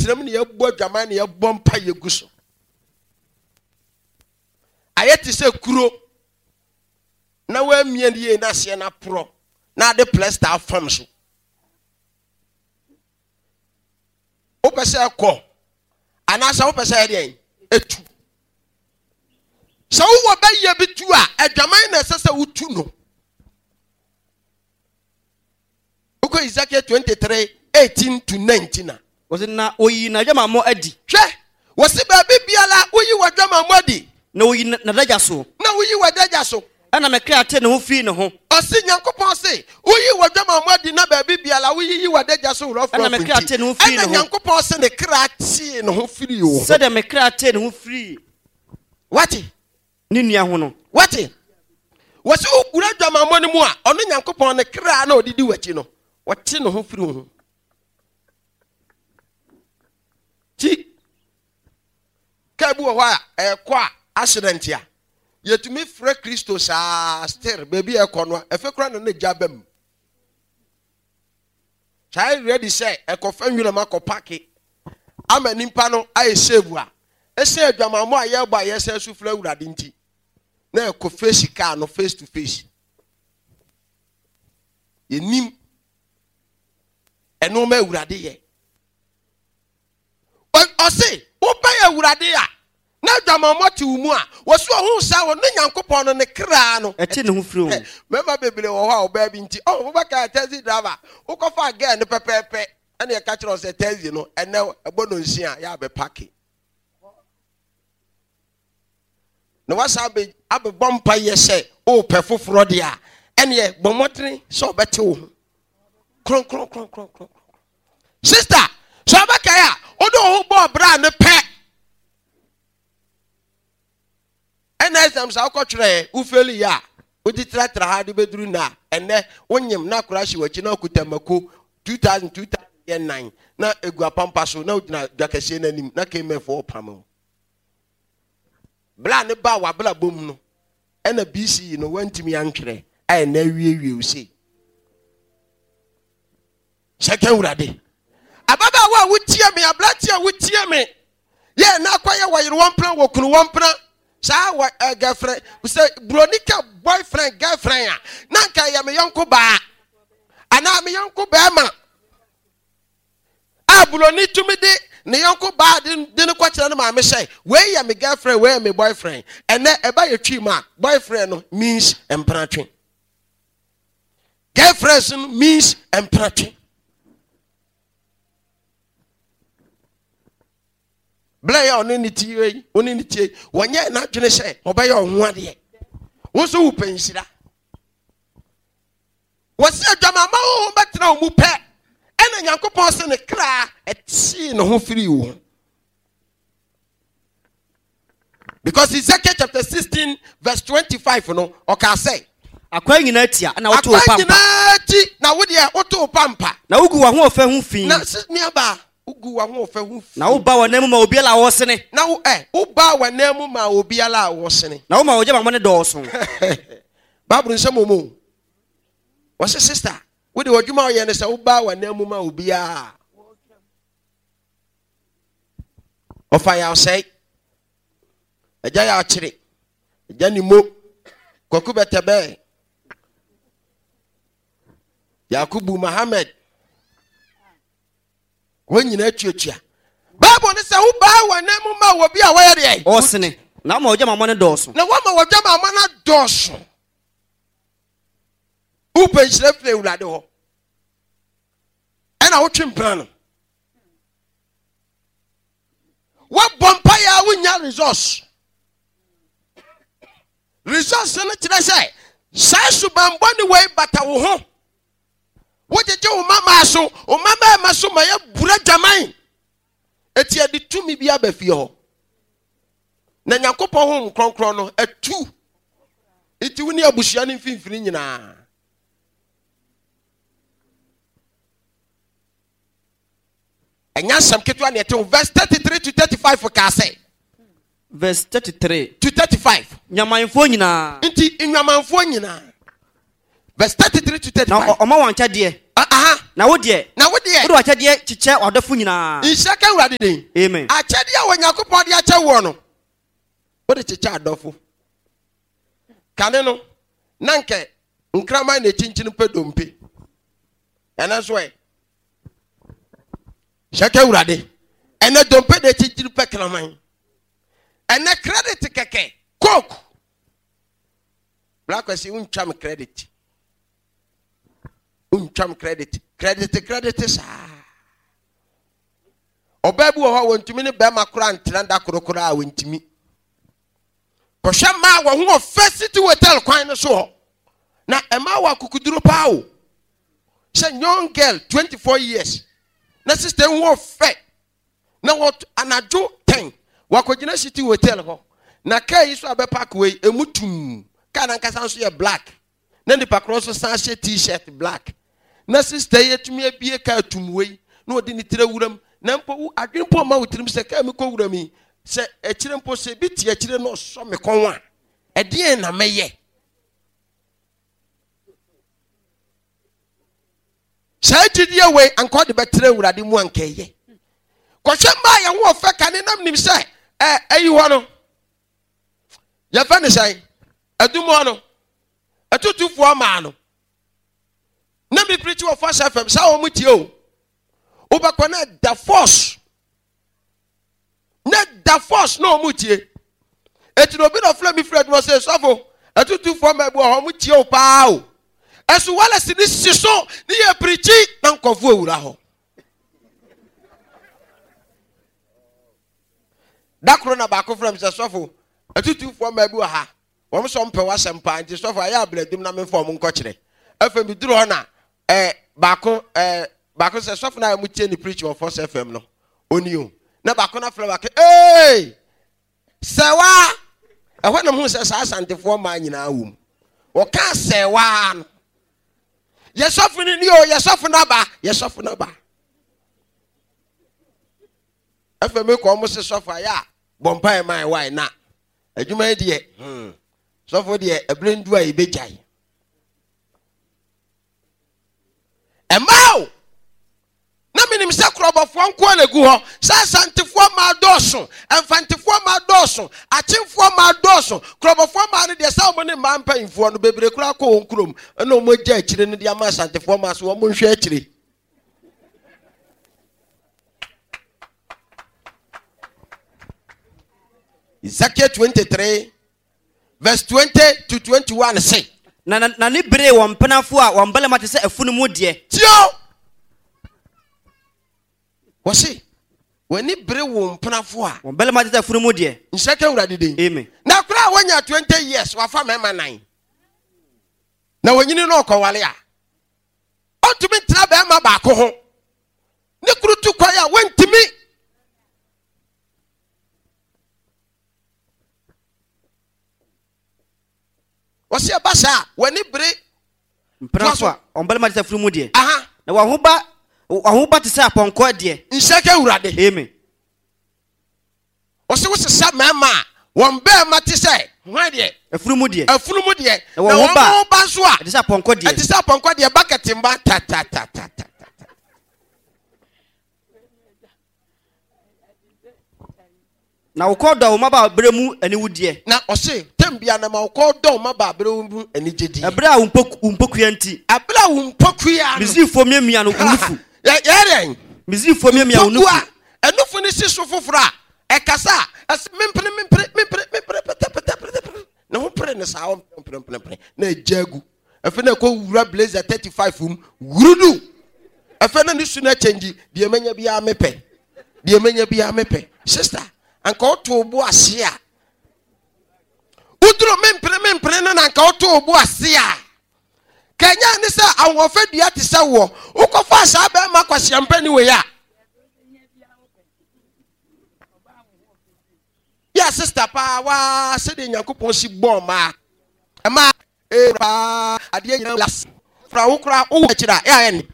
Tenam ne yɛbɔ adwaman ne yɛbɔ mpa yɛgu so. Ayɛ te sɛ kuro na woamia no yie na aseɛ no aporɔ na ade plɛsta afam so. Wopɛ sɛ ɛkɔ anaasɛ wopɛ sɛ ɛdeɛn ɛtu. Sɛ wowɔ bɛyɛ bi tu a, adwaman na ɛsɛ sɛ wotu no. Wokɔ Ezekiel 23 18 to 19 a. Wɔsi na oyi n'adwamammɔ adi. Hwɛ, wɔsi baabi biara woyi w'adwamammɔ adi. Na oyi n'adagya so. Na woyi w'adagya so. Ɛna me kra tee ne ho firii ne ho. Ɔse, Nyankopɔn se, woyi w'adwamammɔ adi na baabi biara woyiyi w'adagya so worɔforɔfo Ɛna me kra nti, tee ne ho firii ɛna ne ho. Nyankopɔn se ne kra tee ne ho firii wo ho. Sɛdeɛ me kra tee ne ho firii. Wate? Ne nua ho no. Wate? Wɔse wowura adwamammɔ no mu a, ɔno Nyankopɔn ne kra na ɔde di w'akyi no, ɔte ne ho firi wo ho. Ti, kaa bi wɔ hɔ a ɛkɔ a accident a, yɛtumi frɛ Kristo saa still baabi a ɛkɔ no a, ɛfɛ kora na ne gya ba mu. Saa ready sɛ ɛkɔfa nwura mu akɔ pake ama nipa no ayɛ save a, ɛsɛ adwamammɔ a yɛbɔ a yɛsɛ so frɛ Awurade nti, na ɛkɔ face kaa no face to face. Yɛnim ɛnoɔma Awurade yɛ. Ɔse wobɛn Awurade a na adwamammɔ te wo mu a, wɔsi ɔho saa wɔ ne Nyankopɔn no ne kra no. Ɛte ne ho firi ho. Mmarima bebree wɔ hɔ a ɔbaa bi nti, oh, wobɛka taxi driver, wokɔfa girl no pɛpɛɛpɛ, ɛna ɛka kyerɛ wo sɛ taxi no, ɛnɛ ɛbɔ no nsia, yɛ abɛpake. Na wasan abɛbɔ mpa yɛ sɛ wopɛ foforɔ deɛ a, ɛneɛ bɔ mmɔdene sɛ ɔbɛte wo ho. Kronkronkronkronkron. Sister, sɛ ɔbɛkae a, wode wo ho bɔɔ bra no pɛ. Ɛna exams a wokɔtwerɛɛ, wofeli yɛ a, wode tratra ha de bɛduru nna a, ɛnnɛ wonyem na akora hye w'akyi na wokuta mako 2000 2000 yɛ nnan na egu apampa so na wogyina dwa kɛseɛ no anim na KMF ɔpam wo. Bra ne baa w'abrabɔ mu no, ɛna BCE no wantumi antwerɛ a ɛnɛ awiewie wo sei. Hyɛ ka Awurade. Ababaawa a wotie me, aberante a wotie me, yɛ na akɔyɛ wɔyere wɔn mpena, wɔkunu wɔn mpena. Saa wɔ ɛ girlfriend, sɛ buroni ka boyfriend, girlfriend a, na nka ɛyɛ me yɔnko baa anaa me yɔnko bɛrima. A buroni tumi de ne yɔnko baa de de no kɔkyerɛ ne maame sɛ wei yɛ me girlfriend, wei yɛ me boyfriend. Ɛnɛ ɛba yɛ twi mu a, boyfriend no means mpenatwe. Girlfriends no means mpratwe. Berɛ yɛ ɔne ne tie yi, ɔne ne tie yi, wɔnyɛ n'adwene sɛ ɔbɛyɛ ɔho adeɛ. Wo nso wopɛ nhyira. Wɔsi adwamama honhom bɛtena wo mu pɛ, ɛna Nyankopɔn se ne kra ɛtee ne ho firii wo ho. Because Ezekiel chapter 16 verse 25 no, ɔkaa sɛ. Akwan nyinaa tia na woto wo Akwan pampa. nyinaa ti na wo deɛ woto wo pampa. Na wogu w'ahoɔfɛ ho fi. Na nuabaa, wogu w'ahoɔfɛ ho fi. Na woba w'anan mu ma obiara a ɔresene. Na wo ɛ, wobaa w'anan mu ma obiara a ɔresene. Na woma w'agyamammɔ no dɔɔso. Bible nsɛm wɔ mu o. Wɔse sister, wo deɛ w'adwuma a woyɛ ne sɛ wobaa w'anan mu ma obiara a. Ɔfa yaw sɛe. Agya yaw kyere. Agya ni mo. Kwaku bɛtɛbɛɛ. Yakubu Mohammed. Wɔn nyinaa tuatua. Bible ne sɛ wobaa wɔn nan mu ma wɔ bi a wɔyɛ deɛ. Ɔsene. Na wɔma wɔgya ma no dɔɔso. Na wɔma wɔgya ma no dɔɔso. Wopɛ nhyira firi Awurade hɔ. Ɛna wotwe mpena no. Woabɔ mpaeɛ a wonya results. Results no kyerɛ sɛ saa subanbɔne wei bata wo ho. Wogyegye wo mmammaa so, wo mmammarima so ma yɛbura dwaman. Eti yɛde tumi bi aba fie hɔ. Na Nyankopɔn honhom kronkron no atu. Nti wo ne abusua no mfimfini nyinaa. Ɛnyɛ asɛm ketewa na ɛte ho. Verse 33 to 35 kaa sɛ. Verse 33. To 35. Nwamanfoɔ nyinaa. Nti nwamanfoɔ nyinaa. Verse 33 to 35. Na ɔma wɔn akyɛdeɛ. Aha. Na wo deɛ. Na wo deɛ. Wode w'akyɛdeɛ kyekyɛ w'adɔfo nyinaa. Nhyira ka Awurade din. Amen. Akyɛdeɛ a Onyankopɔn de akyɛ woɔ no, wode kyekyɛ adɔfo. Kane no, na nkɛ nkraman na ɛkyinkyini pɛ dompe. Ɛnɛ nso ɛ. Hyɛ ka Awurade. Ɛnɛ dompe na ɛkyinkyini pɛ kraman. Ɛnɛ credit kɛkɛ, coke. Bra Kwasi wontwa me credit. Wontwa me credit. Credit credit saa. Ɔbaa bi wɔ hɔ a wɔntumi ne bɛrima koraa ntena da koro koraa a wɔntumi. Kɔhwɛ mmaa wɔn ho wɔ First City Hotel kwan no so hɔ. Na mmaa wɔ akokuduro paa o. Sɛ young girl 24 years na sister ho wɔ fɛ Na wɔ anadwo tɛn, wakɔgyina City Hotel hɔ. Na kaa yi so a bɛpark wei, emu tumm. Kaa no ankasa nso yɛ black. Na nipa korɔ nso san hyɛ T-shirt black. Na sista yi atumi abie kaa tumm wei, na ɔde ne tiri awura mu. Na mpo wo adwene mpo mma wo tirim sɛ kaa mi kɔ wura mu yi, sɛ akyire mpo sɛ ebi te akyire na ɔsɔ me kɔn a, ɛdeɛn na mɛyɛ? Saa gyidie wei anka ɔde bɛtena Awurade mu anka ɛyɛ. Kɔhwɛ mmaa yɛn ho ɔfɛ kane nam nim sɛ ɛ ɛyi hɔ no yɛfɛ ne sɛn adum hɔ no atutufoɔ maa no na mi pirikyi wɔ Force FM saa wɔn tie o wobɛkɔ na da force na da force na wɔn tie eti na obi na ɔfrɛ mi firi adwuma sɛ sɔfo atutufoɔ mmaa bi wɔ hɔ wɔn tie o paa o ɛso walɛsi ne si so ne yɛ pirikyi na nkɔfo ewura hɔ da koro na baako frɛ mi sɛ sɔfo atutufoɔ mmaa bi wɔ ha wɔn sɔ mpɛ w'asɛm paa nti sɔfo ayɛ abladum na memfa wɔn nkɔkyerɛ afei mi duru hɔ na ɛɛ baako ɛɛ baako sɛ sɔfo na mo tie ne preach wɔ Force FM no oni o na baako na frɛ baako ee sɛwa ɛhɔ na mo sɛ saa asantefoɔ mmaa nyinaa wɔ mu wɔka sɛwa no yɛ sɔfo no ni o yɛ sɔfo no aba yɛ sɔfo no aba afei mi kɔ ɔmo se sɔfo ayɛ a bɔ mpae maa ɛwae na adwuma yi deɛ hmm sɔfo deɛ ɛbere ndu a yɛbɛgyae Ɛmmaa o! Na menim sɛ korɔbɔfoɔ nko na egu hɔ. Sɛ Asantefoɔ mmaa dɔɔso, Mfantefoɔ mmaa dɔɔso, Akyemfoɔ mmaa dɔɔso. Korɔbɔfoɔ mmaa no deɛ sɛ wɔn ne mmaa mpanyinfoɔ no bebree koraa kɔ wɔn kurom na wɔn agya akyire no de ama Asantefoɔ mmaa so wɔn nhwɛ akyire. Ezekiel 23 Verse 20 to 21 se. Na n'ani beree wɔn mpenafo a wɔn barima te sɛ afunumu deɛ. Tie o! Wɔse, w'ani bere wo mpenafo a. Wɔn barima te sɛ afunumu deɛ. Nhyira ka Awurade din. Amen. Na koraa a wanya 20 years, wafa mmarima nan. Na wɔnyini na ɔkɔwale a, ɔntumi ntena barima baako ho. Ne kunu tu kwan a, wɔntumi. Wɔsi ɛba saa a, w'ani bere. Mpenafo a wɔn barima te sɛ afunumu deɛ. Aha. Na wɔn ho ba wɔn ho ba te sɛ apɔnkɔ deɛ. Nhyira ka Awurade. Amen. Wɔsi wosesa mmarima a wɔn barima te sɛ hwan deɛ? Afunumu deɛ. Afunumu deɛ. Na wɔn ho ba nso a. Ɛte sɛ apɔnkɔ deɛ. Ɛte sɛ apɔnkɔ deɛ bucket mba ta ta ta ta ta. Na wo kɔn dɔ wo mmabaaberɛ mu aniwudeɛ. Na ɔse, tɛm bia na ma wo kɔn dɔ wo mmabaaberɛ mu anigyedie. Ɛberɛ a wo mpokua nti. Ɛberɛ a wo mpokua no. Misraimfoɔ miamia no wo nufu. Yɛ dɛn? Misraimfoɔ miamia wo nufu. Mpokua, ɛnufu no si so foforɔ a, ɛkasa a, ɛse mempene mempene mempene mempene pete pete pete pete. Ne ho pere no saa ɔmpene mpene mpene na agya agu. Afei na ɛkɔ wura blazer 35 mu wurudu. Afei na ne su no akyɛngyi deɛ manya biara mepɛ. Deɛ manya biara mepɛ. Sister, anka woto bo ase a. Woduro mempene mempene no na anka woto bo ase a. Kanya ne sɛ ahoɔfɛ dua te sɛ woɔ. Wokɔfa saa bɛrima kwasiampani wei a. Yɛ sister paa waa sɛdeɛ Nyankopɔn si bɔɔ mmaa. Mmaa Ee paa adeɛ nyinaa las fra wo koraa wowɔ akyiri a ɛayɛ ne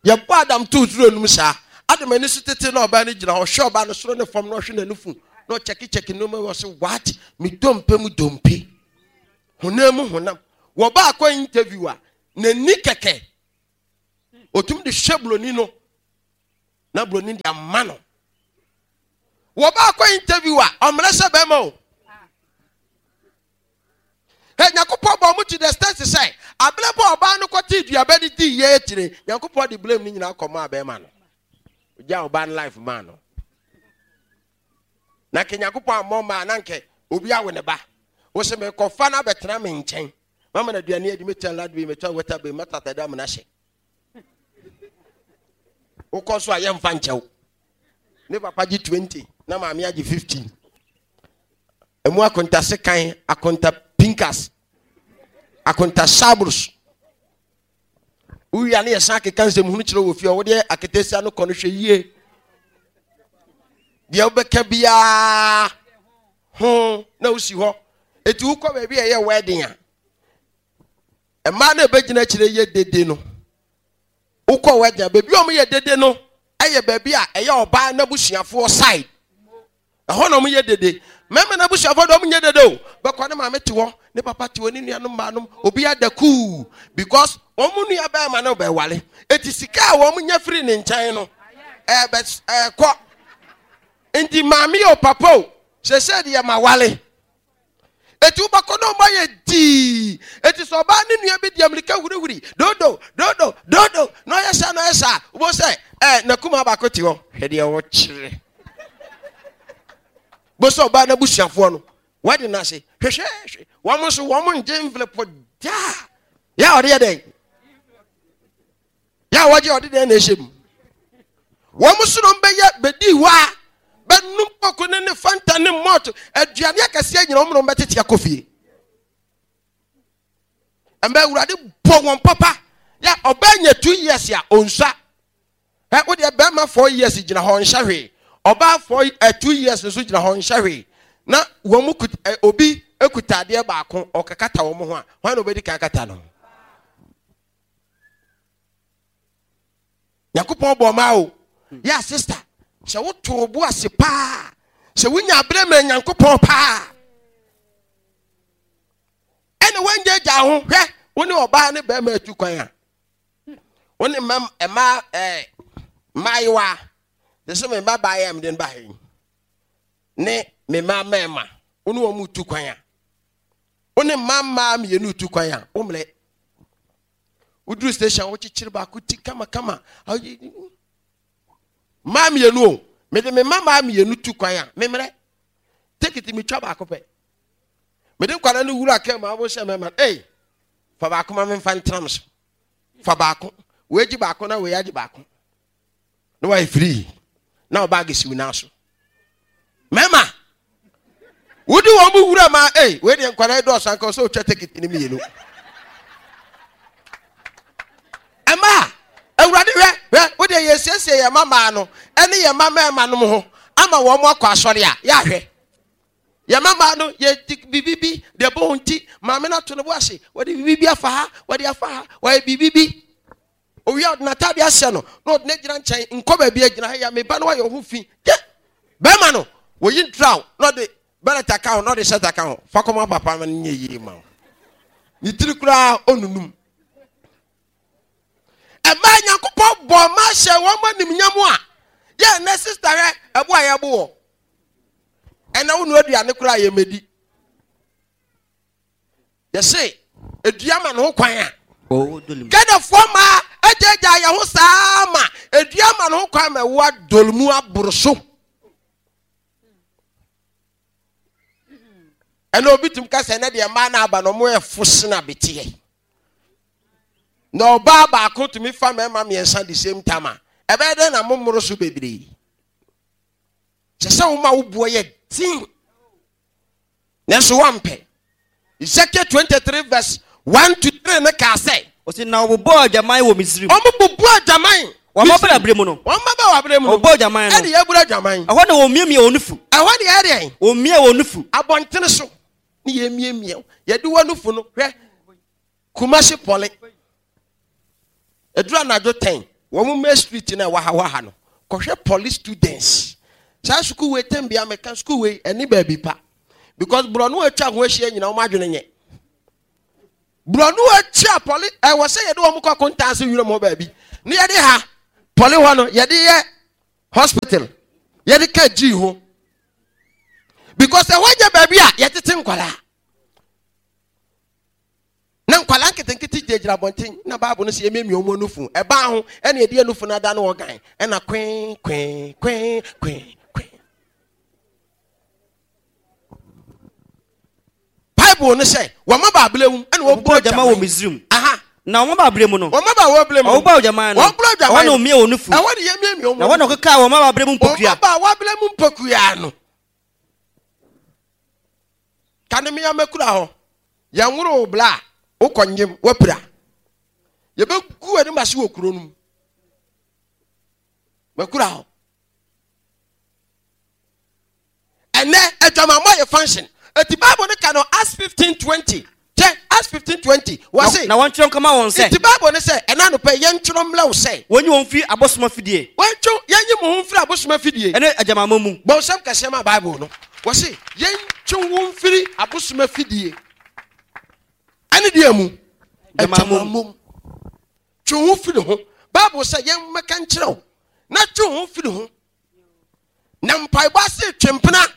yɛbɔ Adam too turo no mu saa Adam ani so tete na ɔbaa no gyina hɔ hwɛ ɔbaa no soro ne fam na ɔhwɛ n'anufu na ɔkyɛkekyɛke nneɛma wɔ se what me dompe mu dompe honam mu honam. Wɔba akɔ interview a, n'ani kɛkɛ. Otumi de hwɛ buroni no na buroni de ama no. Wɔba akɔ interview a, ɔmmerɛ sɛ bɛrima o. Hɛ, Nyankopɔn bɔ ɔmo to the extent sɛ, abere bɔ ɔbaa no kɔtee duaba no dii yɛ akyire, Nyankopɔn de blame no nyinaa kɔmaa bɛrima no. Ogyaa ɔbaa no life maa no. Na nka Nyankopɔn ammɔ mmaa na nka obi awo ne ba. Wo sɛ mekɔfa no abɛtena me nkyɛn. Mama no aduane adi, metua light bill, metua water bill, mɛtɔ atade ama no ahyɛ. Wokɔ so a yɛmfa nkyɛw. Ne papa gye 20 na maame agye 15. Emu akonta sekan, akonta pinkas, akonta sabrus. Wowie a ne yɛsan akeka nsɛm hunu kyerɛ wɔ fie a wodeɛ aketesia no kɔ no hwɛ yie. Deɛ wobɛka biara ho na wosi hɔ. Eti wokɔ baabi a ɛyɛ wedding a, mmaa no ɛbɛgyina akyire yɛ dede no. Wokɔ wedding a, baabi a wɔyɛ dede no ɛyɛ baabi a ɛyɛ ɔbaa n'abusuafoɔ side. Ɛhɔ na wɔyɛ dede. Mmarima no abusuafoɔ deɛ wɔnyɛ dede o. Bɛkɔ ne maame te hɔ, ne papa te hɔ, ne nuanom mmaanom, obi ada kuu because wɔn nua bɛrima no bɛwale. Eti sika a wɔn nya firi ne nkyɛn no, ɛbɛ ɛkɔ. Nti maame o papa o, sese deɛ ma wale. Eti wobɛkɔ na ɔmo ayɛ dii. Eti sɛ ɔbaa ne nua bi di amirika hurihuri, dodo, dodo, dodo, na ɔyɛ saa na ɔyɛ saa, wobɛhu sɛ ɛɛ n'akumaa baako te hɔ. Hwɛ deɛ ɔkyerɛ. Bo sɛ ɔbaa n'abusuafoɔ no, wɔde no ase. Hwehwɛ, hwɛ. Wɔn nso wɔn ngye envelope daa. Yɛ a ɔde yɛ dɛn? Yɛ a wɔgye ɔde dɛn na ɛhyɛ mu? Wɔn so nom bɛyɛ bɛdi hɔ a bɛnum koko ne ne fanta ne malt aduane akɛseɛ nyina wɔn nom bɛtete akɔ fie. Ɛmɛ awurade bɔ wɔn papa yɛ ɔbaa nya 2 years a ɔnsua. Ɛ wo deɛ bɛrima 4 years gyina hɔ nhyɛ hwee, ɔbaa 4 ɛ 2 years nso gyina hɔ nhyɛ hwee na wɔn mu kuta ɛ obi kuta adeɛ baako ɔkakata wɔn ho a, hwan na obɛdi kan akata no? Nyankopɔn bɔ ɔmaa o. Yɛ sister, sɛ woto bo ase paa, sɛ wonya aberɛ ma Nyankopɔn paa, ɛna woangyagya ho. Hwɛ, wo ne ɔbaa ne bɛrima atu kwan a, wo ne mma mmaa ɛɛ mmaayewa te sɛ me mma baayɛ a mede no ba ha yi ne me mma mmarima, wo ne wɔn tu kwan a, wo ne mma mmaa mmienu tu kwan a, wo mmerɛ woduru station wokyekyere baako ti kamakama. Mmaa mmienu o, mede me mma mmaa mmienu tu kwan a, memmerɛ tekiti metwa baako pɛ. Mede nkwadaa no wura kaa mu a, wɔhyɛ mmarima, ei, fa baako ma memfa ntena so, fa baako, wei gye baako na wei agye baako na wayɛ free na ɔbaage siw nan so. Mmarima wodi wɔn mu wura ma ei, wei deɛ nkwadaa yi dɔɔso anka sɛ otwa tekiti no mmienu. Ɛma awurade hwɛ, hwɛ, wo deɛ yɛsiesie yɛn mma mmaa no ɛne yɛn mma mmarima nom ho ama wɔn akɔ asɔre a, yɛahwɛ yɛn mma mmaa no yɛ biribi bi deɛ bɔ wɔn ti, maame no ato ne bo ase, wɔde biribi bi afa ha, wɔde afa ha, wɔyɛ biribi bi. Owia ɔde n'ataade ahyɛ no na ɔde no agyina nkyɛn, nkɔ baabi agyina ha ya me ba no ayɛ ho fi. Gye bɛrima no wɔyi ntraw na ɔde bɛlɛt aka ho na ɔde hyɛt aka ho, fa kɔma papa ma no nyɛ yie ma wo. Ne tiri koraa ɔnunum. Ɛmaa Nyankopɔn bɔ ɔma hyɛ wɔn animnyam a yɛ ɛnɛ sista hwɛ ɛbo a yɛbo wɔ ɛnɛ wo nua aduane koraa yɛmɛdi. Yɛse edua ma ne ho kwan a. Ghanafoɔ mmaa agyaagyaa yɛn ho saa ma edua ma ne ho kwan ma ɛwo adɔl mu aboro so. Ɛna obi tum ka sɛ ɛnɛ deɛ mmaa no aba no wɔn yɛ fo sena beteɛ. Na ɔbaa baako tumi fa mmarima mmiɛnsa the same time a, ɛbɛyɛ dɛn na mo mmoro so bebree? Kyɛ sɛ woma wo boɔ yɛ den. Nanso wɔampɛ. Ezekiel 23 verse 1 to 3 no kaa sɛ. Ɔsi na wɔbobɔɔ adwaman wɔ Misrim. Wɔbobɔɔ adwaman. Wɔn mmabaa abere mu no. Wɔn mmabaa abere mu no. Wɔbobɔɔ adwaman no. Ɛde yɛabura adwaman. Ɛhɔ na wɔmiamia wɔn nufu. Ɛhɔ de yɛ deɛn? Wɔmia wɔn nufu. Abɔntene so ne yɛmiamia. Yɛde wɔn nufu no hwɛ. Kumasi Pɔle. Ɛduru anadwo 10, wɔn main street no a ɛwɔ ha wɔ ha no, kɔhwɛ Pɔle students. Saa sukuu wei tɛm bia meka sukuu wei ɛne baabi pa. Because borɔno atwa ho ahyia nyina wɔn adwene nyɛ. Borɔno akyi a pɔle ɛwɔ sɛ yɛde wɔn kɔ kontaa se wiram hɔ baabi ne yɛde ha pɔle hɔ no yɛde yɛ hospital yɛde ka gyii ho because ɛhɔ nyɛ baabi a yɛtete nkwadaa na nkwadaa nketenkete gyinagyina abɔnten na baabu no sɛ yɛmiamia wɔn anufu ɛbaa ho ɛna yɛde anufu no ada no ɔgan ɛna kwee kwee kwee kwee kwee Bible no sɛ wɔn mmabaabere mu ɛna wɔbɔ adwaman wɔ Misrim. Aha. Na wɔn mmabaabere mu no. Wɔn mmabaabere mu. Wɔbɔ adwaman no. Wɔbɔ adwaman. Ɛhɔ na wɔmia wɔn nufu. Ɛhɔ na yɛmiamia wɔn. Na ɛhɔ na wɔkekaa wɔn mmabaabere mu mpokua. Wɔn mmabaabere mu mpokua no. Kane mmea mɛkura hɔ. Yɛn woro bla a wokɔ nyem wapira. Yɛbɛgu anim ase wɔ kuro no mu. Mɛkura hɔ. Ɛnɛ adwamammɔ yɛ function. Eti Bible no ka no Acts 15:20. Kyɛ Acts 15:20 wɔse. Na wɔntwerɛ nkɔma wɔn sɛ. Enti Bible no sɛ ɛna anɔpa yi yɛntwerɛ mmrɛ wo sɛ. Wɔnyi wɔn mfiri abosom afidie. Wɔntwe yɛnyi mo ho mfiri abosom afidie. Ɛne adwamammɔ mu. Bɔ nsɛm kɛseɛ ma Bible no. Wɔse yɛntwe wo mfiri abosom afidie. Ɛne deɛ mu? Adwamammɔ mu. Twe wo ho firi ho. Bible sɛ yɛmmɛka nkyerɛ wo na twe wo ho firi ho. Na mpaebɔ ase twe mpena.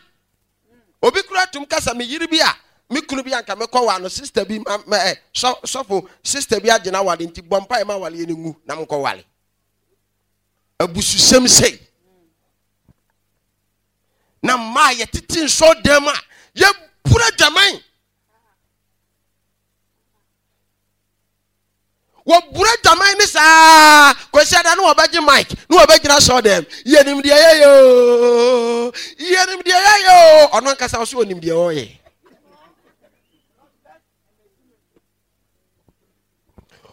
Obi kura tum kasa me yiri bi a me kunu bi anka mekɔ wa no sister bi ma ma ɛ sɔ sɔfo sister bi agye na wale nti bɔ mpae ma wale ne ngu na mekɔ wale. Abususɛm sei. Na mmaa yɛtete nsɔ dɛm a yɛbura dwaman. Wɔbura dwaman ne saa kwasiada ne wɔbɛgye mic ne wɔbɛgyina sɔɔ dɛm yɛnim deɛ yɛyɛ oo yɛnim deɛ yɛyɛ oo ɔno ankasa ɔso ɔnim deɛ ɔyɛ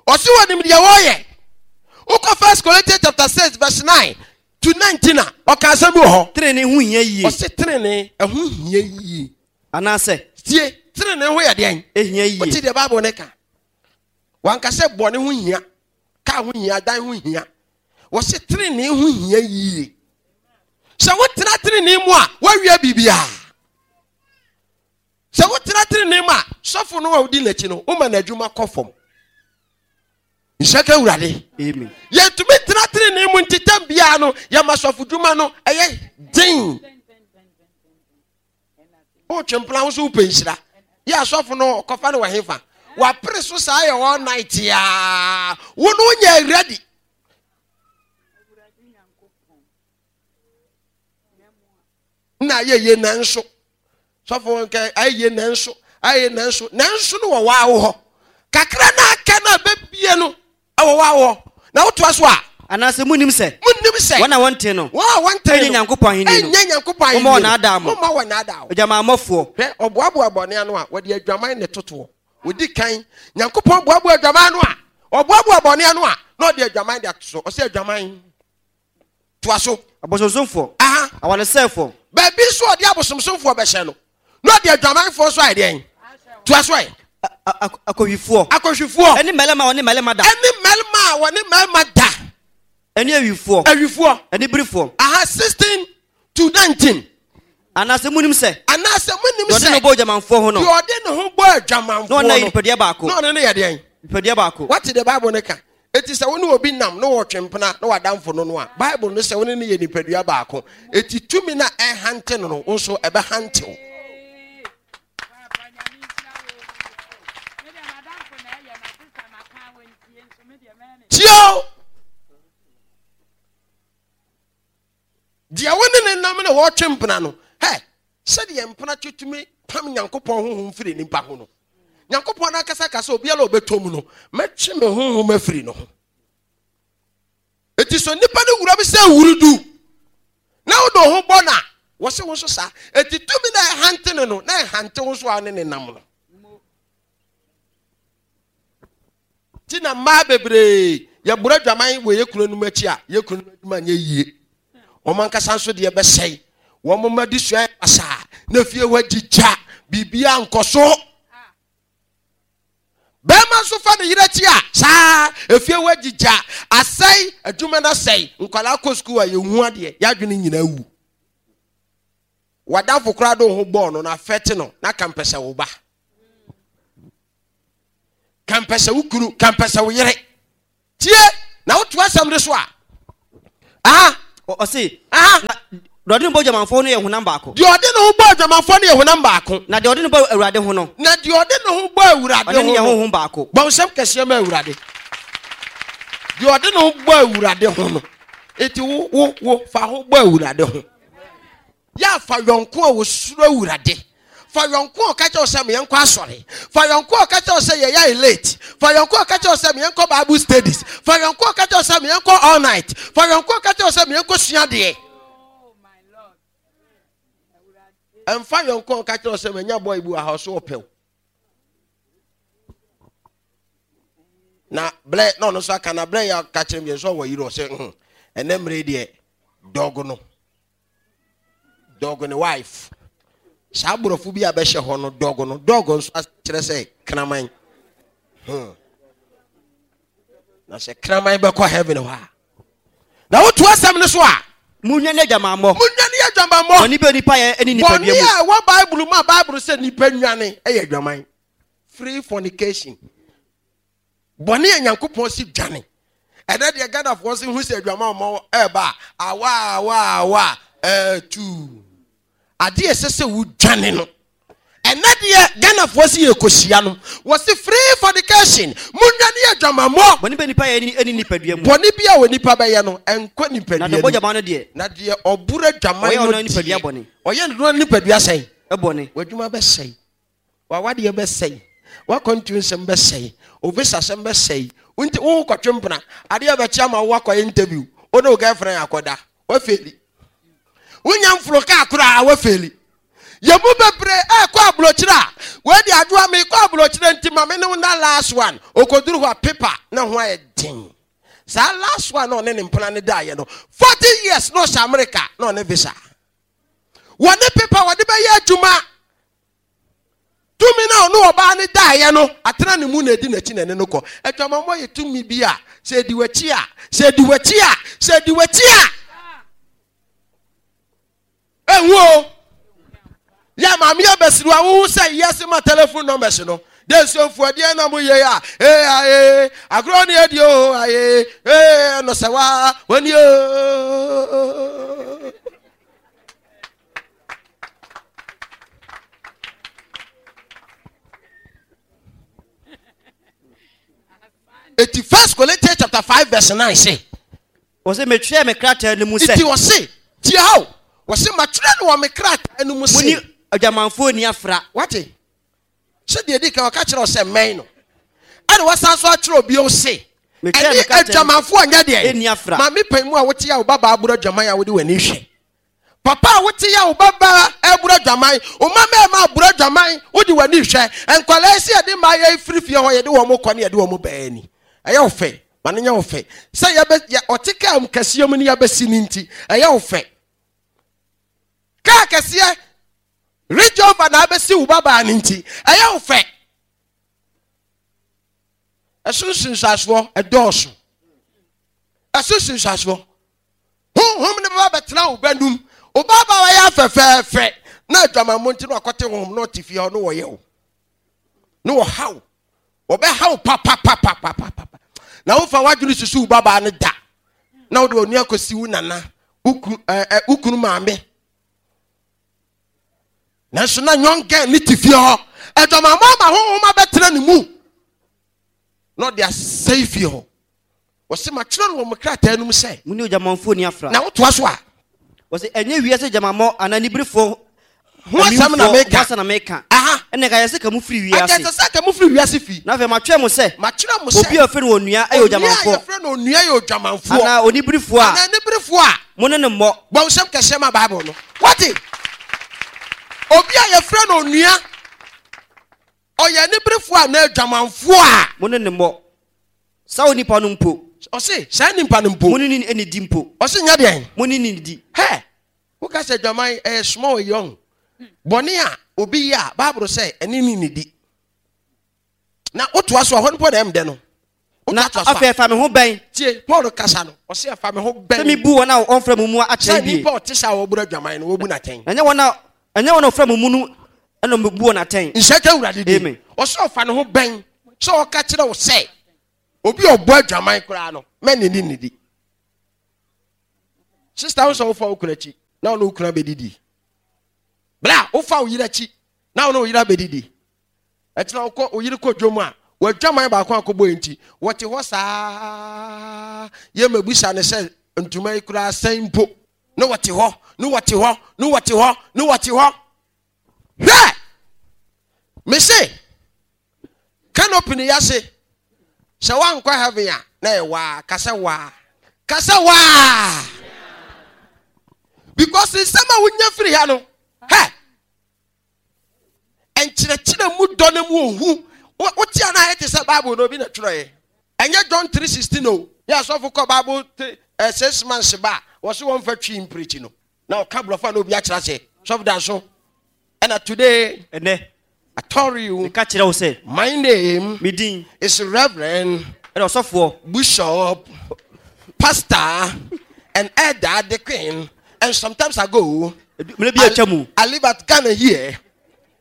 ɔso ɔnim deɛ ɔyɛ wokɔ first Corinthians chapter 6 verse 9 to 19 a ɔka asɛm bi wɔ hɔ tenene ho hia yie ɔse tenene ɛho hia yie anaasɛ tie tenene ho yɛ deɛn ɛhia yie wote deɛ bible ne ka Wanka sɛ bɔne ho hia, kaa ho hia, dan ho hia. Wɔse trenee ho hia yie. Sɛ wotena trenee mu a, woawia biribiara. Sɛ wotena trenee mu a, sɔfo no a wodi n'akyi no, woma n'adwuma kɔ fam. Nhyɛ ka Awurade. Amen. Yɛntumi tena trenee mu nti tam biara no, yɛma sɔfo dwuma no ɛyɛ den. Wotwe mpena wo so wopɛ nhyira. Yɛ asɔfo no kɔfa no wɔ hefa? Wapere so saa yɛ all night yaa. Wo no wonyɛ ready. Na ayɛ yie nanso. Sɔfo nka ayɛ yie nanso. Ayɛ nanso. Nanso no wɔ waa wo hɔ. Kakra na aka na bɛbie no Ɛwɔ hɔ a wɔ. Na wotoa so a. Anaasɛ monnim sɛ. Monnim sɛ. Wɔn a wɔnte no. Wɔn a wɔnte no. Ɛnyɛ Nyankopɔn ahennie no. Ɛnyɛ Nyankopɔn ahennie no. Momma wɔnnaadaa mo. Momma wɔnnaadaa wo. Adwamammɔfoɔ. Hwɛ, ɔboaboa bɔne ano a, wɔde adwaman na ɛtotoɔ. Wɔdi kan, Nyankopɔn boaboa adwaman ano a, ɔboaboa bɔne ano a, na ɔde adwaman de ato so. Ɔsɛ adwaman. Toa so. Abosonsomfoɔ. Aha. Awaresɛefoɔ. Baabi nso ɔde abosomsomfoɔ bɛhyɛ no, na ɔde adwamanfoɔ nso ayɛ deɛn? Toa so ɛ. Akɔhwifoɔ. Akɔhwifoɔ. Ɛne mmarima a wɔne mmarima da. Ɛne mmarima a wɔne mmarima da. Ɛne awifoɔ. Awifoɔ. Ɛne birifoɔ. Aha 16 to 19. Anaasɛ munim sɛ. Anaasɛ munim sɛ. Deɛ ɔde ne ho bɔ adwamanfoɔ ho no. Deɛ ɔde ne ho bɔ adwamanfoɔ no. Na ɔne yɛ nipadua baako. Na ɔne no yɛ deɛn? Nipadua baako. Wate deɛ Bible no ka? Eti sɛ wo ne obi nam na wɔtwe mpena na w'adamfo no no a, Bible no sɛ wo ne no yɛ nipadua baako. Eti tumi no a ɛhante no no, wo nso ɛbɛhante wo. Tie o! Deɛ wo ne ne nam na wɔtwe mpena no, hɛ, sɛdeɛ mpena twe tumi pam Nyankopɔn honhom firi nipa ho no, Nyankopɔn no ankasa ka sɛ obiara a ɔbɛtɔ mu no, mɛtwe me honhom afiri no ho. Eti so nipa no wura bi sɛ wurudu na wode wo ho bɔ no a, wɔse wo nso saa. Eti tumi na ɛhante no no, na ɛhante wo nso a wo ne ne nam no. Ti na mmaa bebree yɛboro adwaman wɔ yɛ kununom akyi a, yɛ kununom adwuma nyɛ yie. Wɔn ankasa nso deɛ bɛsɛe. Wɔn mma de sua yɛ basaa na fie hɔ agyigya, biribiara nkɔ so. Bɛrima nso fa ne yere akyi a, saa efie hɔ agyigya, asɛe, adwuma no asɛe, nkwadaa kɔ sukuu a yɛhu adeɛ, yɛadwene nyinaa wu. W'adamfo koraa de wo ho bɔɔ no na afɛte no na ka mpɛ sɛ wo ba. Kampɛ sɛ wo kunu, kampɛ sɛ wo yere. Tie na woto asɛm no so a. Aha. Ɔse, Aha. Na deɛ ɔde ne bɔ adwamanfoɔ no yɛ honam baako. Deɛ ɔde ne ho bɔ adwamanfoɔ no yɛ honam baako. Na deɛ ɔde ne bɔ Awurade ho no. Na deɛ ɔde ne ho bɔ Awurade ho no. Ɔne ne yɛ honhom baako. Bɔ nsɛm kɛseɛ ma Awurade. Deɛ ɔde ne ho bɔ Awurade ho no. Eti wo wo wo fa ho bɔ Awurade ho. Yɛ a fa yɔnko a osuro Awurade. Fa yɔnko a ɔka kyerɛ wo sɛ meɛnkɔ asɔre. Fa yɔnko a ɔka kyerɛ wo sɛ yɛyɛ ayɛ late. Fa yɔnko a ɔka kyerɛ wo sɛ meɛnkɔ Bible studies. Fa yɔnko a ɔka kyerɛ wo sɛ meɛnkɔ all night. Fa yɔnko a ɔka kyerɛ wo sɛ meɛnkɔ sua adeɛ. Ɛmfa yɔnko a ɔka kyerɛ wo sɛ manya boy bi wɔ ha ɔso ɔpɛ wo. Na blɛ na ɔno nso aka na blɛ yɛ aka kyerɛ me nso ɔwɔ yere ɔsɛ hmm ɛnɛ mmere deɛ dɔg no. Dog ne wife. Saa aborɔfo bi a bɛhyɛ hɔ no dog no dog nso kyerɛ sɛ kraman. Hmm. Na sɛ kraman bɛkɔ heaven hɔ a. Na wotu asɛm no so a. Munnwane adwamammɔ. Munnwane adwamammɔ. Bɔne bi a onipa yɛ ne nipadua mu. Bɔne a ɛwɔ Bible mu a Bible sɛ nipa nwane yɛ adwaman. Free fornication. Bɔne a Nyankopɔn se dwane. Ɛnɛ deɛ Ghanafoɔ se hu sɛ adwamammɔ ɛreba a, awa awa awa ɛɛtuu. Adeɛ ɛsɛ sɛ wodwane no. Ɛnɛ deɛ Ghanafoɔ se yɛkɔhyia no, wɔse free fornication, monnwane adwamammɔ. Bɔne bɛ nipa yɛ ɛne nipadua mu. Bɔne bi a onipa bɛyɛ no, ɛnkɔ nipadua Na deɛ ɔbɔ dwaman no deɛ. Na deɛ ɔboro adwaman no deɛ. Ɔyɛ ɔno nipadua bɔne. Ɔyɛ ɔno nipadua sɛn? Ɛbɔne. W'adwuma bɛsɛe. W'awadeɛ bɛsɛe, w'akwantuo nsɛm bɛsɛe, wo visa sɛm bɛsɛe. Wonti wo kɔtwe mpena, adeɛ bɛkye ama wo akɔyɛ interview, wo ne wo girlfriend akɔda, wafeeli. Wonya mforo kaa koraa wafeeli. Yɛn mu bebree ɛkɔ aburokyerɛ a, wei de adwoa mekɔ aburokyerɛ nti ma me ne wo na last one, okoduru hɔ a paper na ho ayɛ den. Saa last one na ɔne ne mpena ne daeɛ no, 40 years na ɔhyɛ America na ɔne visa. Wɔne paper wɔde bɛyɛ adwuma. Tumi no a ɔne ɔbaa no daeɛ no atena ne mu na ɛdi n'akyi na ɛne no kɔ. Adwamammɔ yɛ tumi bi a sɛ ɛdi w'akyi a, sɛ ɛdi w'akyi a, sɛ ɛdi w'akyi a, ɛnwu o. Yɛ maame yɛ bɛsiri a wohu sɛ yɛse ma telephone numbers no. De nsuomfoɔ deɛ na mo yɛ a, ee aye, agorɔ ne adi o aye, ee ɛno sɛ wa, wani o. Eti First Corinthians chapter 5 verse 9 se. Wɔse metwerɛ me krataa no mu sɛ. Eti wɔse tie ha o. Wɔse matwerɛ no wɔ me krataa no mu se. Moni adwamanfoɔ nni afra. Wate? Sɛ deɛ di kan ɔka kyerɛ wo sɛ mmɛn no. Ɛna wasan so atwerɛ bio se. Ɛne adwamanfoɔ nyɛ deɛ. Maame pan mu a wote a wo babaa aboro adwaman a wode w'ani hwɛ. Papa a wote yɛ wo babaa reboro adwaman, wo mma mmarima aboro adwaman, wode w'ani hwɛ. Nkwadaa yi sɛ yɛde mmaayɛ yi firi fie hɔ, yɛde wɔn kɔ ne yɛde wɔn baa ni. Ɛyɛ wo fɛ, ma no nyɛ wo fɛ. Sɛ yɛbɛ, yɛ, ɔte kaa mu kɛseɛ mu ne yɛabɛsi no nti, ɛyɛ wo fɛ. Kaa kɛseɛ, Range Rover na abɛsi wo babaa no nti, ɛyɛ wo fɛ. Ɛso nsunsuansoɔ ɛdɔɔso. Ɛso nsunsuansoɔ. Honhom no bɛba bɛtena wo ba num. Wo ba ba wayɛ afɛfɛɛfɛ na adwamammɔ nti na wakɔte honhom na ɔte fie hɔ na wɔyɛ wo. Na wɔha wo. Wɔbɛha wo papapapapapa. Na wofa w'adwene susu wo babaa no da. Na wode w'ani akɔsi wo nana, wo kunu maame. Nanso na young girl ne te fie hɔ. Adwamammɔ ama honhom abɛtena ne mu. Na ɔde asɛe fie hɔ. Wɔse matwerɛ no wɔ mo krataa no mu sɛ. Mo ne odwamanfoɔ nni afra. Na wotoa so a. Wɔse ɛnyɛ wiase adwamammɔ anaa aniberefoɔ ho asɛm na meka. Ho asɛm na meka. Aha. Ɛnna ɛka yɛ sɛ ka mo firi wiase. Anka ɛsɛ sɛ ka mo firi wiase fi. Na afei matwerɛ mo sɛ. Matwerɛ mo sɛ. Obi a wɔfrɛ no onua yɛ odwamanfoɔ. Onua a yɛfrɛ no onua yɛ odwamanfoɔ. Anaa oniberefoɔ a. Anaa aniberefoɔ a. Mo ne no mmɔ. Bɔ nsɛm kɛseɛ ma Bible no. Wate? Obi a yɛfrɛ no onua. Ɔyɛ aniberefoɔ anaa adwamanfoɔ a. Mo ne no mmɔ. Saa onipa no mpo. Ɔse, saa nipa no mpo. Mo ne no nnidi mpo. Ɔse, nyɛ deɛn? Mo ne no nnidi. Hɛ! Woka sɛ adwaman ɛyɛ small yi ɔho. Bɔne a obi yɛ a, Bible sɛ ɛne no nnidi. Na wotoa so a, hɔ no mpo na ɛmdɛ no. Na afei ɛfa me ho bɛn? Tie, Paul kasa no, ɔse ɛfa me ho bɛn. Sɛ mebu wɔn a wɔmfra mo mu atɛn bie. Sɛ nipa ɔte saa a wɔboro adwaman no, wɔbu no atɛn. Na ɛnyɛ wɔn a ɛnyɛ wɔn a wɔfra mo mu no na mebu wɔn atɛn. Nhyɛ ka Awurade din. Amen. Ɔse ɔfa ne ho bɛn. sɛ ɔka kyerɛ wo sɛ obi a ɔbɔ adwaman koraa no mɛne ne nnidi. Sista wo sɛ wofa wo kunu akyi na wo ne wo kunu abɛdidi. Bla wofa wo yere akyi na wo ne wo yere abɛdidi. Ɛkyena wokɔ wo yere kɔ dwom a wadwaman baako akɔbɔ yi nti wɔte hɔ saa yɛ mabisa ne sɛ ntoma yi koraa sɛn mpo ne wɔte hɔ ne wɔte hɔ ne wɔte hɔ ne wɔte hɔ. Hwɛ! Mese Canopy no yase sɛ woankɔ heaven a na yɛ waa ka sɛ waa ka sɛ waa because nsɛm a wonya firi ha no hɛ nkyerɛkyerɛ mu dɔ no mu ohu wote a na ayɛ te sɛ Bible no obi na twerɛeɛ ɛnyɛ John 3:16 o yɛ asɔfo kɔ Bible 6 months ba a wɔse wɔmfa twi mpirikyi no na ɔka borɔfo a na obi akyerɛ ase sɔfo da so ɛna today ɛnɛ I told you meka kyerɛ wo sɛ my name me din is Reverend ɛna ɔsɔfoɔ Bishop Pastor and Elder the Queen and sometimes I go mmerɛ bi atwa mu I live at Ghana here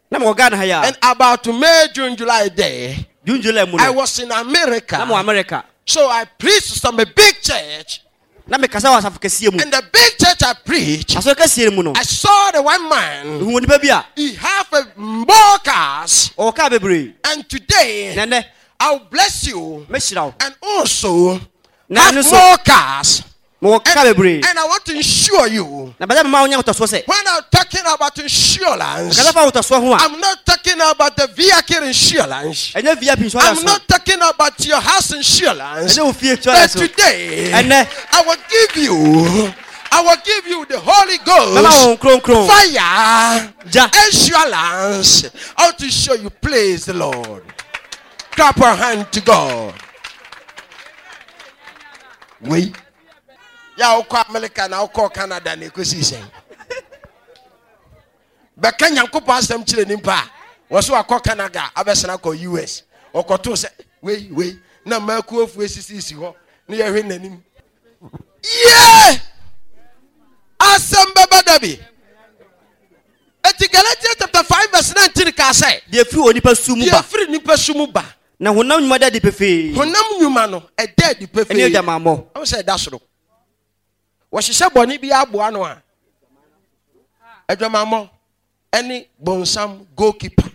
na mewɔ Ghana ha yi a and about May June July there June July mu no I was in America na mewɔ America so I preached some a big church Na mekasa wɔ asafo kɛseɛ mu. And the big church I preach. Asɔre kɛseɛ no mu no. I saw the one man. Mehuu onipa bi a. He have a more cars. Ɔwɔ kaa bebree. And today. Na ɛnɛ. I will bless you. Mɛhyira wo. And also. Na have ɛno nso. more cars. Mewɔ kaa bebree. And I want to insure you. Na bɛsɛ mema wo nya ahotɔsoɔ sɛ. When I'm talking about insurance. Mekasa fa ahotɔsoɔ ho a. I'm not talking about the vehicle insurance. Ɛnyɛ VIP insurance. I'm not talking about your house insurance. Ɛnyɛ wo fie insurance. But today, ɛnɛ, I will give you, I will give you the Holy Ghost. Mɛma wo Kronkron. Fire. Gya. Insurance. I want to show you, praise the Lord. Clap your hand to God. Wei. Ya wokɔ America na wokɔ Canada na ekosi sɛn. Bɛka Nyankopɔn asɛm kyerɛ nipa a, wɔ so akɔ Canada abɛsena akɔ US. Ɔkɔtoo sɛ wei wei na mmakuofoɔ esisisi hɔ ne yɛhwɛ n'anim. Yie! Asɛm bɛba da bi. Eti Galatians chapter 5 verse 19 kaa sɛ. Deɛ firi onipa su mu ba. Deɛ firi nipa su mu ba. Na honam nnwuma da adi pefee. Honam nnwuma no ɛda adi pefee. Ɛne adwamammɔ. Ɛho sɛ ɛda soro. Wɔhyehyɛ bɔne bi aboa no a, adwamammɔ ɛne bonsam goalkeeper.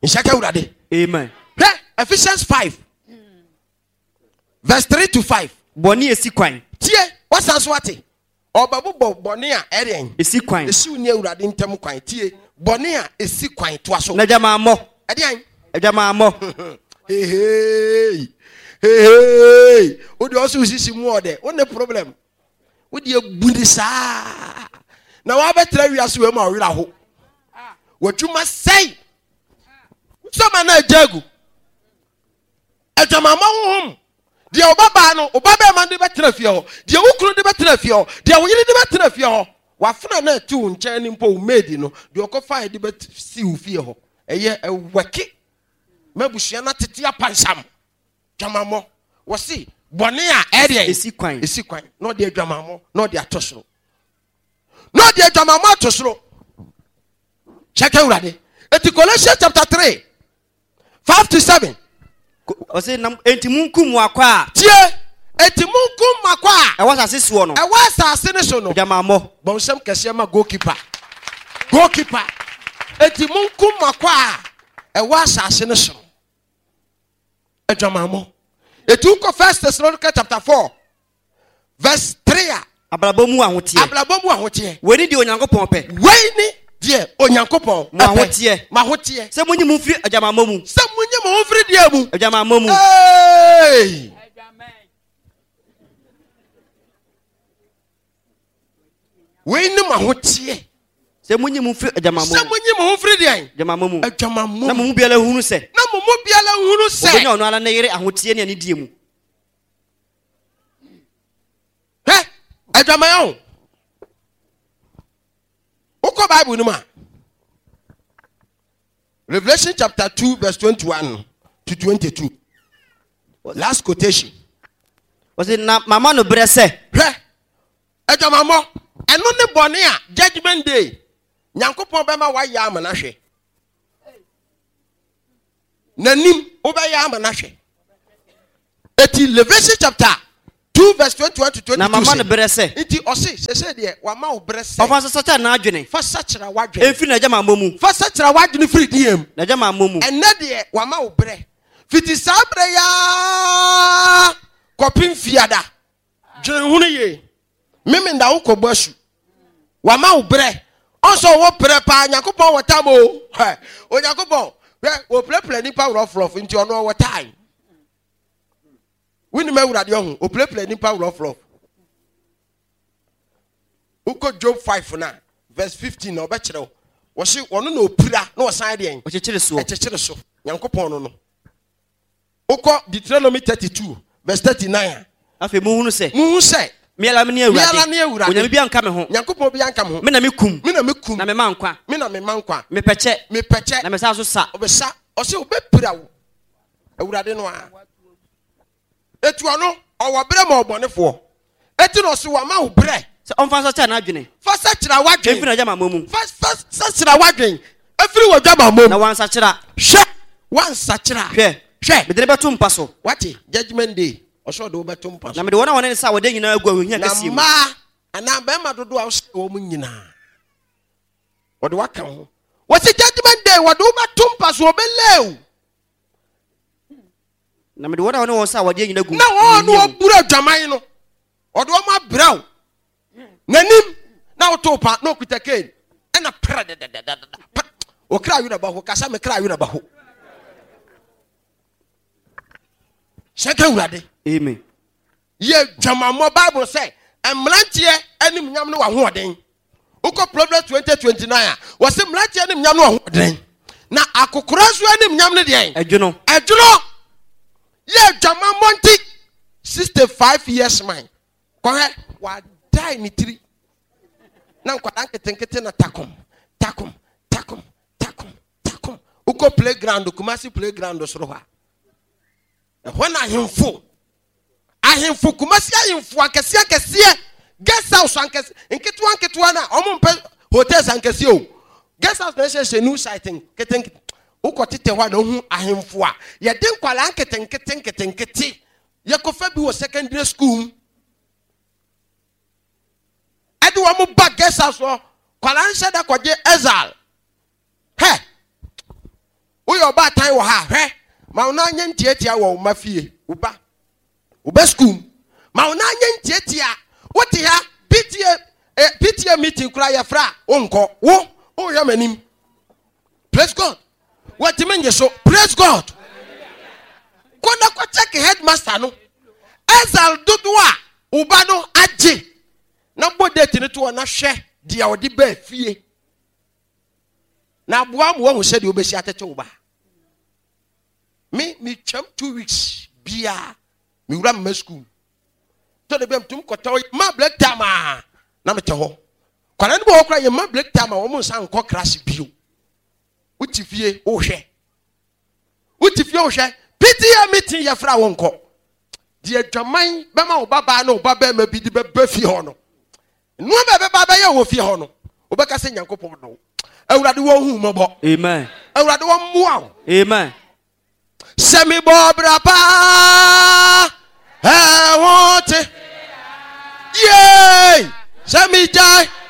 Nhyɛ ka Awurade. Amen. Hwɛ Ephesians 5 verse 3 to 5. Bɔne esi kwan. Tie, wasan so ate. Ɔbɛbobɔ bɔne a ɛdeɛn? Esi kwan. Esi wo ne Awurade ntam kwan. Tie, bɔne a esi kwan. Toa so. Na adwamammɔ. Ɛdeɛn? Adwamammɔ. Hehei. Hehei. Wo deɛ ɔsɛ osisi mu ɔdɛ. Wo ne problem. Wo deɛ bu ne saa. Na wabɛtra wiase wei ma ɔwerɛ aho. W'adwuma sɛe. Sɔma na agya agu. Adwamammɔ honhom. Deɛ wo babaa no, wo babarima de bɛtena fie hɔ, deɛ wo kunu de bɛtena fie hɔ, deɛ wo yere de bɛtena fie hɔ, w'afena no a ɛte wo nkyɛn no mpo, wo maid no, deɛ ɔkɔfaeɛ de bɛsi wo fie hɔ. Ɛyɛ ɛwɛke ma abusua no atete apansam. Dwamammɔ. Wɔse bɔne a ɛdeɛn? Ɛsi kwan. Ɛsi kwan. Na ɔde adwamammɔ na ɔde ato soro. Na ɔde adwamammɔ ato soro. Kyɛkɛ Awurade. Eti Colossians chapter 3 5 to 7. Ɔse na enti munkum mo akwa a. Tie! Enti munkum mo akwa a. Ɛwɔ asase soɔ no. Ɛwɔ asase no so no. Adwamammɔ. Bɔ nsɛm kɛseɛ ma goalkeeper. Goalkeeper. Enti munkum mo akwa a ɛwɔ asase no so no. Adwamammɔ. Eti wokɔ First Thessalonica chapter 4 verse 3 a. Abrabɔ mu ahoteɛ. Abrabɔ mu ahoteɛ. Wei ne deɛ Onyankopɔn pɛ. Wei ne deɛ Onyankopɔn pɛ. Mo ahoteɛ. Mo ahoteɛ. Sɛ monyi mo mfiri adwamammɔ mu. Sɛ monyi mo ho mfiri deɛ mu. Adwamammɔ mu. Hey! Wei ne mo ahoteɛ. Sɛ monyi mo mfiri adwamammɔ mu. Sɛ monyi mo ho mfiri deɛn? Adwamammɔ mu. Adwamammɔ mu. Na mo mu biara hunu sɛ. Na mo mu biara hunu sɛ. Ɔbɛnya ɔno ara ne yere ahoteɛ ne anidie mu. Hwɛ, adwaman o. Wokɔ Bible no mu a, Revelation chapter 2 verse 21 to 22. Last quotation. Wɔsi na mama no berɛ sɛ. Hwɛ, adwamammɔ, ɛno ne bɔne a judgment day Nyankopɔn bɛma wayɛ ama no ahwɛ. N'anim wobɛyɛ ama no ahwɛ. Eti Leviticus chapter 2 verse 21 to 22 Na mama se, no berɛ sɛ. Nti ɔse, sesei deɛ wama wo berɛ sɛ. Ɔfa so sakyera n'adwene. Fa sakyera w'adwene. Mfiri n'adwamammɔ mu. Fa sakyera w'adwene firi deɛ mu? N'adwamammɔ mu. Ɛnnɛ deɛ wama wo berɛ. Fiti saa berɛ yi ara kɔpem Fiada. Dwene ho no yie. Memenda wo kɔbɔ asu. Wama wo berɛ. Ɔnsɛ ɔwɔ berɛ paa. Nyankopɔn wɔ tam o. Onyankopɔn, hwɛ, wɔpirapira nipa rɔfrɔf nti ɔno ɔwɔ time. Wonim Awurade ɔho, ɔpirapira nipa rɔfrɔf. Wokɔ Job 5 no a, verse 15 na ɔbɛkyerɛ wo. Wɔse ɔno na ɔpira na ɔsan deɛn? Ɔkyekyere soɔ. Ɛkyekyere so. Nyankopɔn no no. Wokɔ Deuteronomy 32 verse 39 a. Afei monhunu sɛ. Monhu sɛ. Me ara mene Awurade. Me ara ne Awurade. Onyame biara nka me ho. Nyankopɔn biara nka me ho. Me na mekum. Me na mekum. Na mema nkwa. Me na mema nkwa. Mepɛkyɛ. Mepɛkyɛ. Na mesan so sa. Ɔbɛsa. Ɔse ɔbɛpira wo. Awurade no ara. Eti ɔno, ɔwɔ berɛ ma ɔbɔnefoɔ. Eti na ɔse wama wo berɛ. Sɛ ɔmfa nsakyera n'adwene. Fa sakyera w'adwene. Mfiri n'adwamammɔ mu. Fa fa sakyera w'adwene. Efiri w'adwamammɔ mu. Na wansakyera. Hwɛ, wansakyera. Hwɛ. Hwɛ. Mede no bɛto mpa so. Wate, judgment day, ɔsɛ ɔde wo bɛto mpa so. Na mede wɔn a wɔne no sa awadeɛ nyinaa agu ahohia Na kɛseɛ mu. mmaa anaa mmarima dodoɔ a wosɛe wɔn nyinaa, wɔde wo aka ho. Wɔse judgment day, wɔde wo bɛto mpa so, wɔbɛlay wo. Na mede wɔn a wɔne wɔn sa awadeɛ nyina gu Na wɔn a wɔburu adwaman no, ɔde wɔn abrɛ wo n'anim na woto pa na ɔkuta cane ɛna prɛ dɛdɛdɛdɛdɛ ɔkra werɛ bɛho kasa me kra werɛ bɛho hyɛ ka Awurade. Amen. Yɛ dwamammɔ Bible sɛ mmeranteɛ anim nyam ne w'ahoɔden. Wokɔ Proverbs 20:29 a, wɔse mmeranteɛ anim nyam ne w'ahoɔden. Na akokora nso anim nyam ne deɛn? Ɛdwono. Ɛdwono. Yɛ dwamammɔ nti 65 years man. Kɔhwɛ, wadae ne tiri. Na nkwadaa nketenkete na takom, takom, takom, takom, takom. Wokɔ playground, Kumasi playground soro hɔ a, Ɛhɔ na ahemfo, ahemfo, Kumasi ahemfo akɛseɛ akɛseɛ, guest house ankɛse, nketewa nketewa na wɔn mpɛ hotels ankɛseɛ o. Guest house na ɛhyɛhyɛ new site nketenkete. Wokɔ tete hɔ a na wohu ahemfo a yɛde nkwadaa nketenkete nketenkete yɛkɔfa bi wɔ secondary school mu. Ɛde wɔn ba guest house hɔ, kwadaa nhyɛ da kɔgye exile. Hɛ! Woyɛ ɔbaatan wɔ ha a, hwɛ, ma wo nan nyɛ ntiatia wɔ wo mma fie, wo ba, wo ba sukuu mu. Ma wo nan nyɛ ntiatia. Wote ha, PTA, eh, PTA meeting koraa yɛfrɛ a, wonkɔ. Wo, wohwɛ m'anim. Praise God. Wɔntumi nye so. Praise God. Kɔ na kɔ check headmaster no. Exile dodoɔ a wo ba no agye na bɔ date no to hɔ na hwɛ deɛ ɔde baa fie. Na aboa ma woahu sɛdeɛ wobɛsi atete wo ba. Me, metwam 2 weeks biara, mewura mma sukuu. Tɔ da bi a metum kɔtɔ ma break time a na metɛ hɔ. Kwadaa no bi wɔ hɔ koraa yɛma break time a wɔn nsa nkɔ class bio. Wote fie wohwɛ. Wote fie wohwɛ. PTA meeting yɛfrɛ a wonkɔ. Deɛ adwaman bɛma wo babaa ne wo babarima bi de bɛba fie hɔ no, nneɛma a ɛbɛba abɛyɛ wɔ fie hɔ no, wobɛka sɛ Nyankopɔn dɔ wo. Awurade wɔn hu mmɔbɔ. Amen. Awurade wɔn mmoa wo. Amen. Sɛ mebɔ bra paa ɛho te yee sɛ megyae.